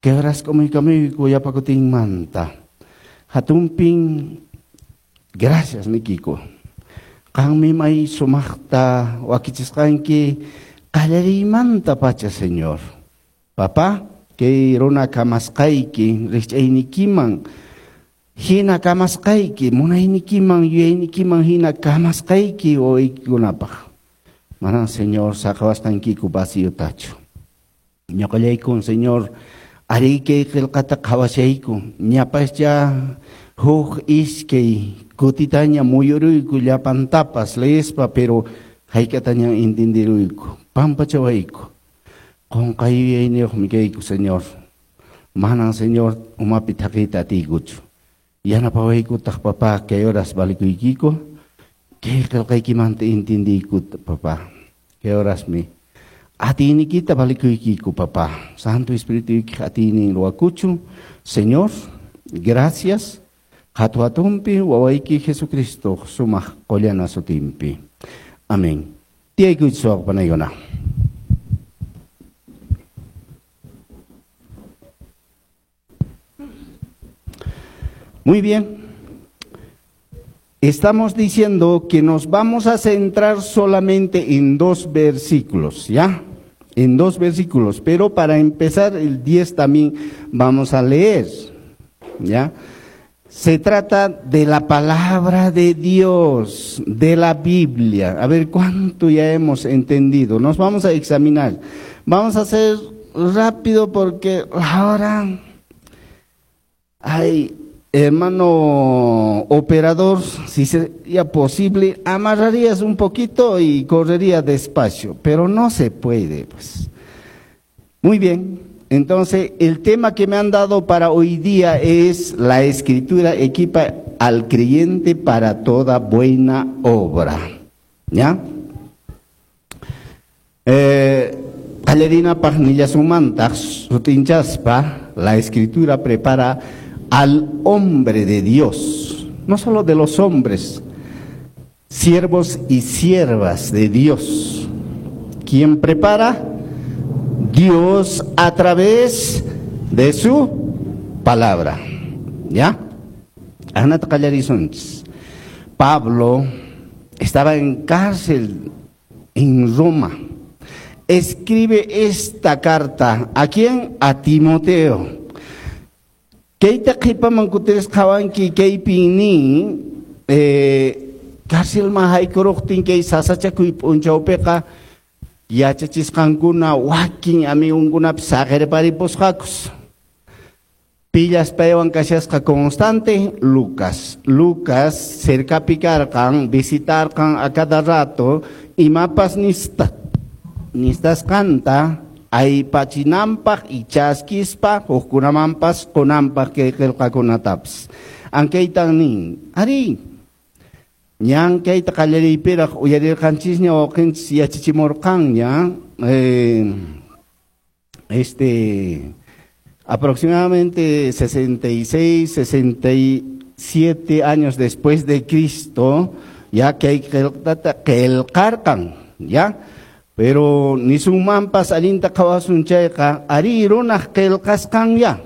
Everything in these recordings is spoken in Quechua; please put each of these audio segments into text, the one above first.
Kay horas k'umuykamuyku yapakutinmanta. Hatunpin gracias nikiku. Qanmi may sumaqta wakichisqanki qallariymanta pacha, Señor. Papá, kay runa kamasqayki rikch'aynikiman hina kamasqayki, munaynikiman, yuyaynikiman hina kamasqayki wawaykikunapaq. Manan, Señor, saqawasqankiku vaciotachu. Ñuqallaykun, Señor, ari kay qillqata qhawashayku, ñapascha huk iskay kutitaña muyuruyku llapantapas leespa, pero hayk'ataña entenderuyku, pampachawayku. Qunqay yuyayniyuqmi kayku, Señor. Manan, Señor, umapi thaqiyta atiykuchu. Yanapawaykutaq, papá, kay horas valikuykiku, kay qillqaykimanta entendiykuta, papá. Kay horasmi atiynikita valikuykiku, papá. Santo Espirituykiq atiynin ruwakuchun. Señor, gracias. Hatu hatunpi wawayki Jesucristo sumaq qullana sutinpi. Amén. Tiyaykuychis wawqipanaykuna. Muy bien. Estamos diciendo que nos vamos a centrar solamente en dos versículos, ¿ya? En dos versículos, pero para empezar el 10 también vamos a leer, ¿ya? Se trata de la palabra de Dios, de la Biblia. A ver cuánto ya hemos entendido. Nos vamos a examinar. Vamos a hacer rápido porque ahora hay... Hermano operador, si sería posible, amarrarías un poquito y correría despacio, pero no se puede, pues. Muy bien, entonces el tema que me han dado para hoy día es la escritura equipa al creyente para toda buena obra. ¿Ya? Qallarinapaq nillasumantaq sutinchaspa, la escritura prepara al hombre de Dios, no solo de los hombres, siervos y siervas de Dios. ¿Quién prepara? Dios a través de su palabra. ¿Ya? Anat qallarisunchis. Pablo estaba en cárcel en Roma. Escribe esta carta. ¿A quién? A Timoteo. Kayta qhipaman kutiris qhawanki kaypin nin, cárcelman haykuruqtin kay sasachakuy p'unchawpiqa yachachisqankuna wakin amigunkunapis saqirparipusqakus. Pillas paywan kashasqa constante Lucas. Lucas cercapi karqan, visitarqan a cada rato, imapas nistasqanta aypachinanpaq y chaskispa hukkunamanpas qunanpaq kay qillqakunatapas. Ankaytan nin, ari, ñan kayta qallariypiraq uyarirqanchisña wawqinchis yachachimurqanña, aproximadamente 66, 67 años después de Cristo, ya que hay qillqata qillqarqan, ya. Pero nisunmanpas allinta qhawasun chayqa, ari runaq qillqasqan ya.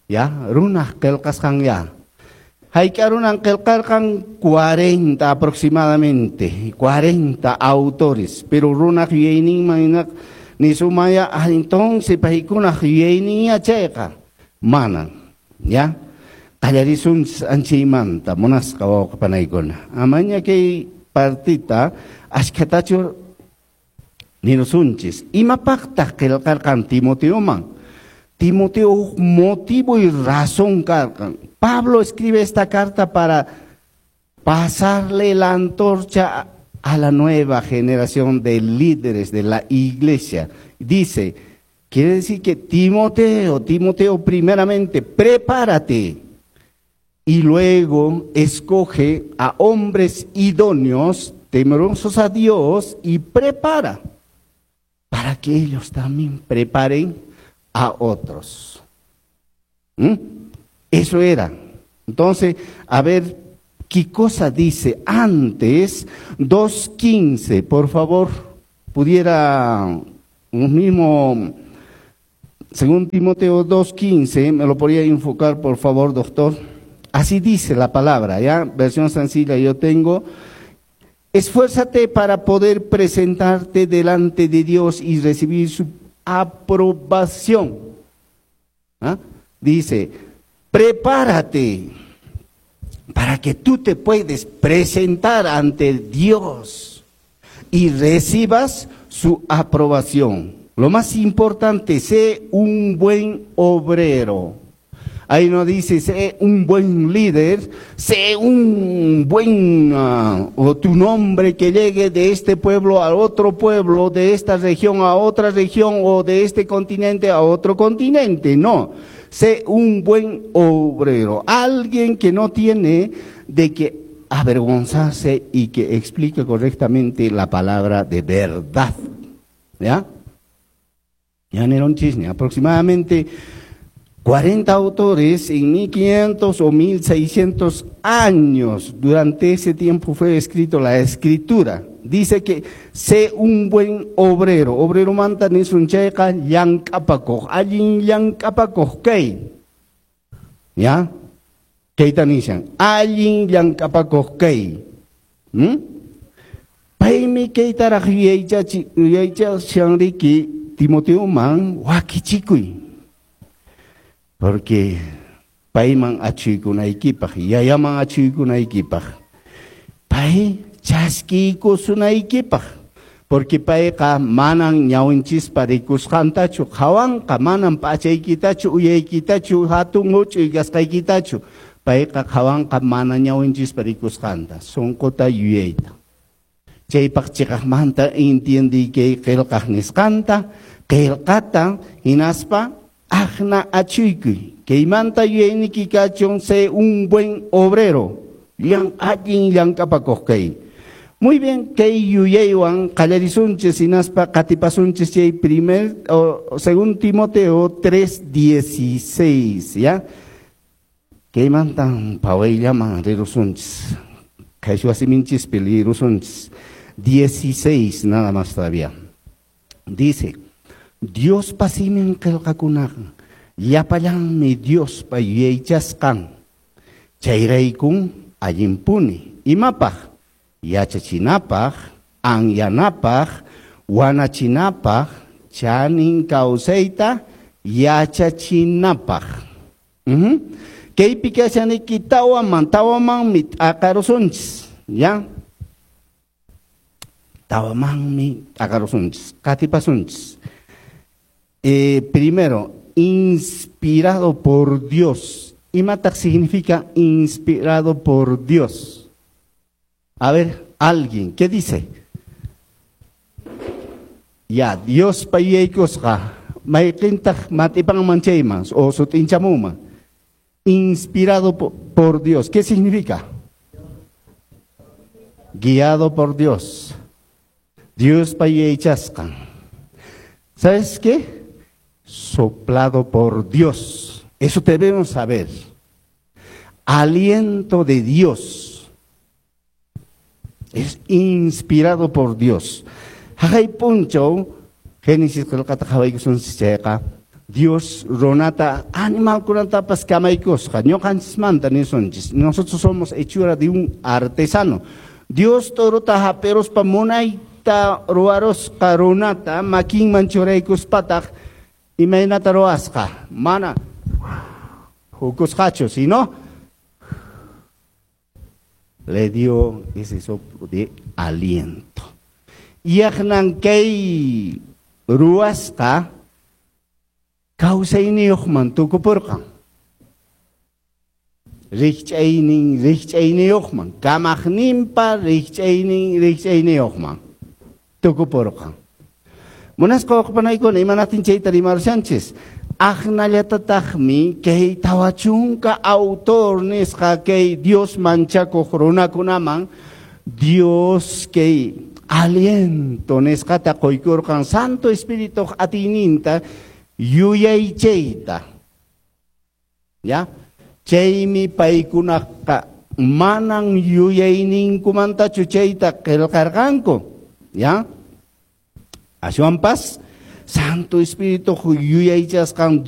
Ya, runaq qillqasqan ya. Hayk'a runan qillqarqan 40 aproximadamente, 40 autores, pero runaq yuyayninman hinaq nisumaya, entonces paykunaq yuyayninya chayqa, manan, ya. Qallarisun anchaymanta, munasqa wawqipanaykuna. Amaña kay partita ashkhatachu nirusunchis. Imapaqtaq qillqarqan Timoteoman? Timoteo motivo y razón karqan. Pablo escribe esta carta para pasarle la antorcha a la nueva generación de líderes de la iglesia. Dice, quiere decir que Timoteo primeramente, prepárate y luego escoge a hombres idóneos, temerosos a Dios y prepara para que ellos también preparen a otros. Eso era. Entonces, a ver, ¿qué cosa dice antes? 2:15, por favor, pudiera un mismo Según Timoteo 2:15, me lo podría enfocar, por favor, doctor. Así dice la palabra, ¿ya? Versión sencilla yo tengo. Esfuérzate para poder presentarte delante de Dios y recibir su aprobación. ¿Ah? Dice, prepárate para que tú te puedes presentar ante Dios y recibas su aprobación. Lo más importante, sé un buen obrero. Ahí no dice, sé un buen líder, sé un buen, o tu nombre que llegue de este pueblo a otro pueblo, de esta región a otra región, o de este continente a otro continente. No, sé un buen obrero, alguien que no tiene de qué avergonzarse y que explique correctamente la palabra de verdad. ¿Ya? Ya no era un chisme, aproximadamente 40 autores en 1500 o 1600 años. Durante ese tiempo fue escrito la escritura. Dice que sé un buen obrero. Obrero manta nisunchayqa llank'apakuq. Allin llank'apakuq kay. ¿Ya? Kayta nishan. Allin llank'apakuq kay. Paymi kaytaraq yuyaychashanriki Timoteoman wakichikuy. Porque payman achuykunaykipaq, yayaman achuykunaykipaq, pay chaskiykusunaykipaq, porque payqa manan ñawinchispa rikusqantachu qhawanqa, manan p'achaykitachu, uyaykitachu, hatun huch'uy kasqaykitachu, payqa qhawanqa mana ñawinchispa rikusqanta, sunquta yuyayta. Chaypaq chiqaqmanta entiendiy kay qillqaq nisqanta, qillqata hinaspa Ajna achuykuy, kaymanta yuyayniki kachun, sé un buen obrero, allin llank'apakuq kay. Muy bien, kay yuyaywan qallarisunchis hinaspa qatipasunchis chay primer, o, según Timoteo 3:16, ¿ya? Kaymantan pawayllaman rirusunchis, qhayshwa siminchispi lirusunchis, 16 nada más todavía. Dice, Diospa simin qillqakunaqa llapallanmi Diospa yuyaychasqan, chayraykun allinpuni. Imapaq? Yachachinapaq, anyanapaq, wanachinapaq, chanin kawsayta yachachinapaq. Kaypi kashaniki tawaman, tawamanmi t'aqarusunchis, ya? Tawamanmi t'aqarusunchis, qatipasunchis. Primero, inspirado por Dios. Imataq significa inspirado por Dios? A ver, alguien, ¿qué dice? Ya, Dios payaykusqa, mayqintaq mat'ipanman chayman o sut'inchamunman. Inspirado por Dios, ¿qué significa? Guiado por Dios. Dios payaychasqan. ¿Sabes qué? Soplado por Dios. Eso debemos saber. Aliento de Dios. Es inspirado por Dios. Jajay puncho, Génesis qillqata qhawaykusunchis chayqa, Dios runata animalkunatapas kamaykusqa, ñuqanchismanta nisunchis. Nosotros somos hechura de un artesano. Dios torota hap'iruspa munayta ruwarusqa runata makinman churaykuspataq imaynata ruwasqa, mana hukusqachu, sino le dio ese soplo de aliento. Yaqnan kay ruwasqa kawsayniyuqman tukupurqan. Rikch'aynin rikch'ayniyuqman, kamaqninpa rikch'aynin rikch'ayniyuqman tukupurqan. Munasqa waqpanaykuna, imanaqtin chayta rimarushanchis? Aqnallatataqmi kay 40 autor nisqa kay Dios manchakuq runakunaman Dios kay aliento nisqata quykurqan Santo Espíritu atiyninta yuyaychayta. ¿Ya? Chaymi paykunaqa manan yuyayninkumantachu chayta qillqarqanku. ¿Ya? Ashwanpas Santo Espíritu yuyaychasqan.